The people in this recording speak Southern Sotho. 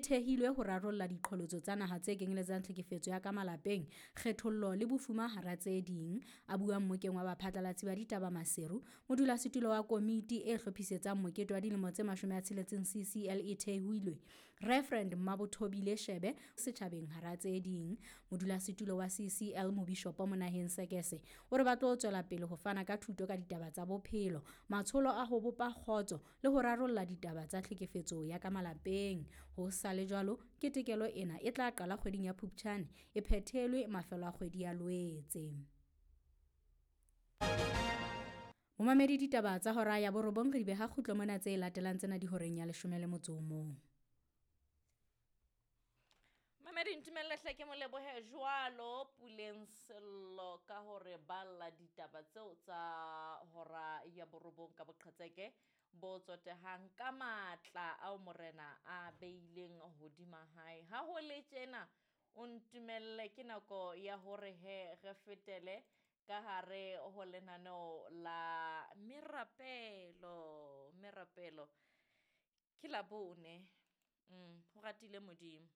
thehilwe ho rarolla diqholotso tsa naha tse kenyeletsang tlhekefetso ya ka malapeng, kgethollo le bofuma hara tse ding. A bua mmokeng wa baphatlalatsi ba ditaba Maseru, modulasetulo wa komiti e hlophisetsang mokete wa dilemo tse 60 CCL e thehilwe, Reverend Mmabothobile Shebe setjhabeng hara tse ding. Modulasetulo wa CCL Mobishopo Monaheng Sekese o re ba tlo tswela pele ho fana ka thuto ka ditaba tsa bophelo, matsholo a ho bopa kgotso le ho rarolla ditaba tsa tlhekefetso ya ka malapeng. Ho sa le jwalo, ketekelo ena e tla qala kgweding ya Phuptjane e phethelwe mafelo a kgwedi ya Loetse. Momamedi ditaba tsa hora ya borobong re di beha kgutlo mona tse latelang tsena di horeng ya 11. Mamedi ntumelle hle ke mo lebohe jwalo Puleng Sello ka hore balla ditaba tseo tsa hora ya borobong ka boqhetseke bo tsotehang ka matla ao morena a beileng hodima hae. Ha ho le tjena o ntumelle ke nako ya hore he re fetele ka hare ho lenaneo la merapelo. Merapelo ke Labone. Ho ratile Modimo.